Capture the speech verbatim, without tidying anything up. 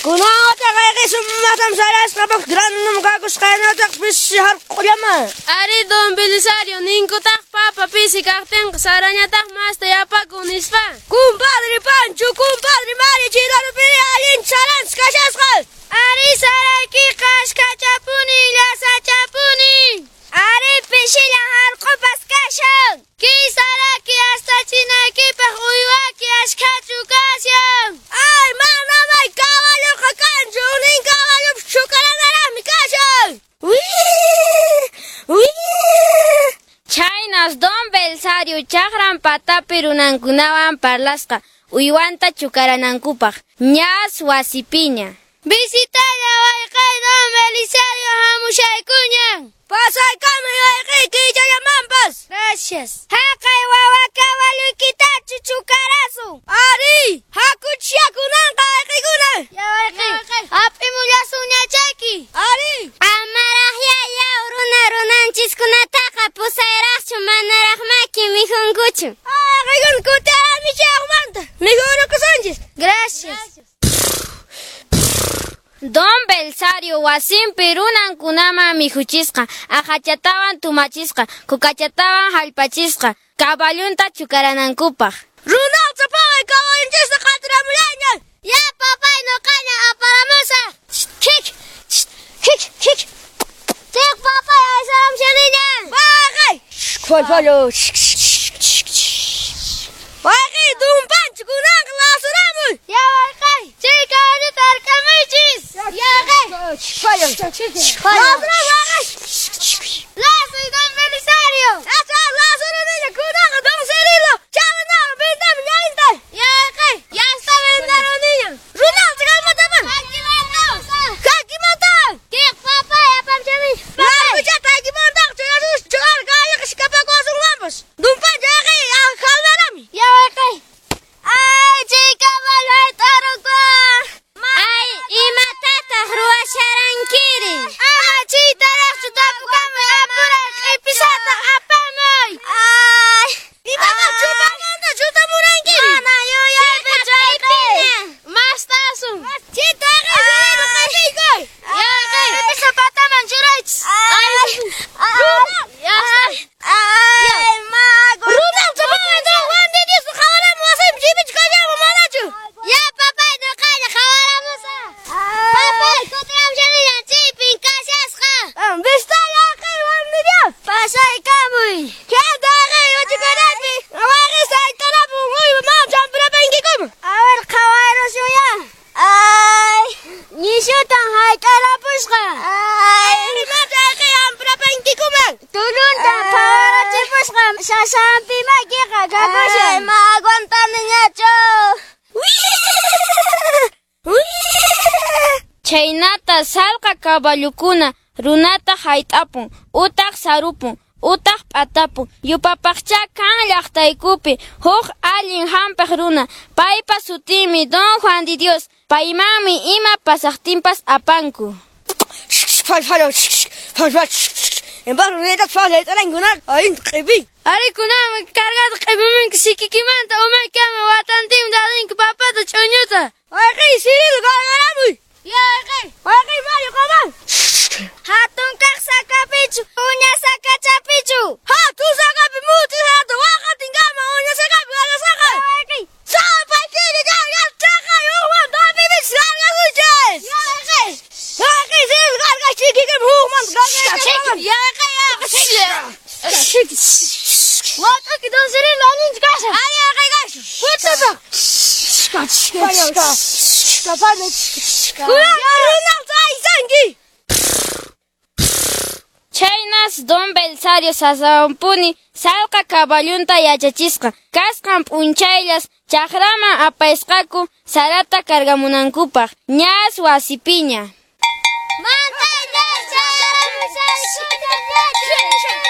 Kunataq ayqisum sarasqapaq granum kakusqaynataq pisi harqullama. Ari don Belisario, ninkutaq papa pisi kaqtinqa sarañataq masta yapakun nispa. Kumpadre Pancho, kumpadre Mari, chirarupiri allin sarans kashasqa. Ari saraykiqa ashkhachapuni, llasachapuni. Ari pishillan harqupas kashan. Kay saraki astachinaykipaq uywaki ashkhachu kashan. Ay, manamay caballoqa kanchu, nin caballopas chukaranaraqmi kashan. Chaynas don Belisario chaqran patapi runankunawan parlasqa uywanta chukaranankupaq ñas wasipiña. Visitalla wayqay don Belisario hamushaykuña. Pasaykamuy wayqay kichallamanpas. Gracias. Haqay wawa caballoykitachu chukarasun. Ari, hakuchiakunanqa wayqaykuna. Ya wayqay. Hap'imullasunña chayki. Ari. Amaraq yaw runa runanchiskunataqa pusayraqchu manaraq maki mikhunkuchu. Wayqaykuna kutirami chayaqmanta. Mikhurukusunchis. Gracias. Don Belisario wasinpi runankunaman mikhuchisqa, aqhachatawan tumachisqa, kukachatawan hallpachisqa, caballunta chukaranankupaq. Runalta paway caballunchista qatiramullaña. Ya papay nuqaña aparamusaq. Kik, kik, kik. Tiq papay aysaramshaniña. Wayqay. Falfalo. Wayqay don Pancho kunanqa lasuramuy. Ya wayqay. Chay caballota hark'amuychis. Ya wayqay. Lasuramuy wayqay. Lasuy don Belisario. Acha lasuruniña kunanqa don Cirilo. Chawanaqa vendame ñainta. Ya wayqay. Ya está vendaruniña. Runalta kalmataman. Hakimanta. Tiq papay apamshani. Larguchata hakimanta churasus churar galliq kapakuwasunmanpas. Don Pancho wayqay halmarami. Ya wayqay. Ay, chay caballo hayt'arukun. Ay, imatataq ruwasharankiri? Ama chaytaraqchu tapukamuy apuray q'ipisataq apamuy. Ay, Imataq chupamanta chutamuranki? Mana yuyaypichu wayqay. Mastasun. Chita wayqay Cirilo qatiykuy. Ya wayqay. Q'ipisa pataman churaychis. Ay, Ya está. ay, mago. Runalta paway don Juan de Dios qhawaramu wasinpi chaypichu kashanman manachu? Ya papay nuqaña qhawaramusaq. Papay kutiramushaniña chaypin kashasqa. Vistalla wayqay Juan de Dios. Pasaykamuy. Kanta wayqay wachukaraypi. Wayqay saytarapun uywa mana champirapankikuma. A ver, qhawarusunya. Ay, nishutan hayt'arapusqa. Ay, Imata wayqay hampirapankikuman. Tulunta phawarachipusqa sasampi makiqa kakushan. Ay, ma aguantaniñachu. Chaynata salqa caballukuna runata hayt'apun, utaq sarupun, utaq p'atapun. Yupapaqcha kan llaqtaykupi huk allin hampiq runa. Paypa sutinmi don Juan de Dios. Paymanmi ima pasaqtinpas apanku. Falfalo. Falfalo. Ari kunanmi cargata q'ipimunki sikikimanta umaykama watantinmi dadinku papata ch'uñuta. Wayqay Cirilo qarqaramuy. Ya wayqay. Wayqay Mario qaman. Hatun kaq sakapichu, uña sakachapichu. Hatun sakapi muti hatu waqatinkama uña sakapi qarqasqaqa. Wayqay. Sapakiri qarqasqaqa hukman tapipis qarqasunchis. Ya wayqay. Wayqay Cirilo qarqachikikim hukman qarqasqaqa. Ya wayqay ya. Wat'uki don Cirilo allinchu kashan. Ari wayqay kashan. Kutipaq. Kunan runalta aysanki. Chaynas don Belisario sasawanpuni salqa caballunta yachachisqa. Kasqan p'unchayllas chaqraman apaysqaku sarata cargamunankupaq. Ñas wasipiña. Mantayña chayaramushaykuña.